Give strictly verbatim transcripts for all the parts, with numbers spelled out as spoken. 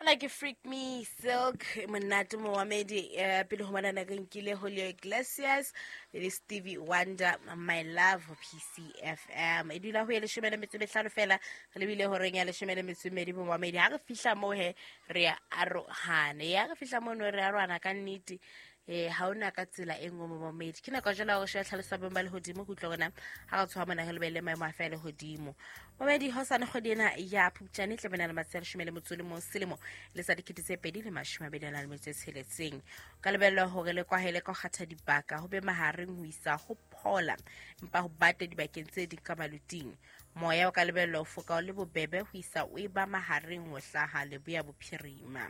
Ona ke Freak Me Silk, monate momamedi. eh, pele ho manana re nkile Julio Iglesias le Stevie Wonder, My Love, ho P C F M. E dula ho ye leshome le metso e mehlano fela re lebile horeng ya leshome le metso e mmedi, momamedi. Ha re fihla moo he, re ya arohana. Ya re fihla mono, re arohana ka nnete. eh ha ona ka tsela e nngwe, momamedi. Ke nako jalo ya gore sheba tlhalosa beng ba lehodimo go utlwa rona ha re tshoga mona re lebelele maemo a fe a lehodimo, momedi. Hosane, kgwedi ena ya Phupjane, tla bena le matsatsi a leshome le motso le mong selemo le sa dikete tse pedi le mashome a mabedi a nang le metso e tsheletseng. Ka lebellwa hore le kwahele ka ho kgatha dibaka, ho be mahareng ho isa ho phola, empa ho bate dibakeng tse ding ka maluting. Moya o ka lebellwa ho foka o le bobebe ho isa o e ba mahareng ho hlaha leboya bophirima.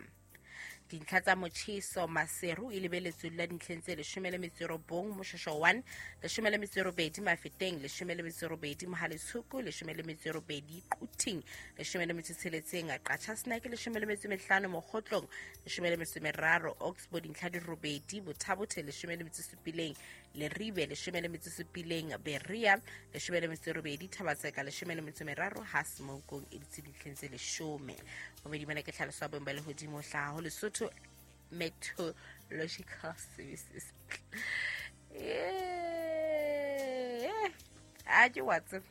Dintlha tsa motjheso: Maseru e lebeletswe la dintlheng tse leshome le metso e robong, Moshosho one leshome le metso e robedi, Mafeteng leshome le metso e robedi, Mohale'shoek leshome le metso e robedi, Quthing leshome le metso e tsheletseng, Qacha's Nek leshome le metso e mehlano, Mokhotlong leshome le metso e meraro, Oxbow dintlha di robedi, Botha-Bothe leshome le metso e supileng, Leribe leshome le metso e supileng, Berea leshome le metso e robedi, Thaba-Tseka leshome le metso e meraro, ha Semonkong e dutse dintlheng tse leshome. Bobedi bana ke tlhaloso ya boemo ba lehodimo ho hlaha ho Lesotho Meteorological Services. Eh, a ke wa tseba,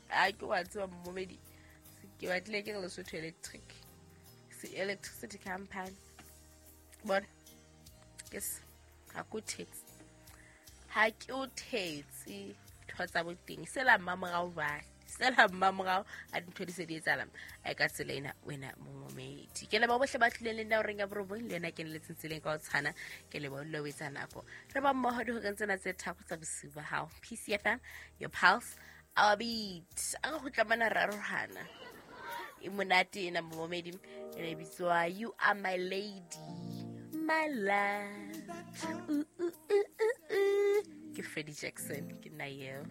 a ke wa tseba, momedi, ke batlile ke re Lesotho Electric Electricity Company. Bona ke se ha ke o thetse, ha ke o thetse. Ntho tsa boteng sela mmamorao jwale, sela mmamorao a dintho di se di etsahala a ka tsela ena. Wena momomedi, ke leba bohle ba tlileng le nna horeng ya borobong, le ena ke neletseng tseleng ka ho tshwana. Ke leba o o etsa nako re ba mmoho dihoreng tsena tse tharo tsa bosiu ba hao. P C F M, your pulse, our beat. A re kgutla mona re arohana. E monate ena, momomedi, e ne bitswa You Are My Lady, My Love. Ooh, ooh, ooh, ooh, ooh. Ke Freddie Jackson, ke nna eo.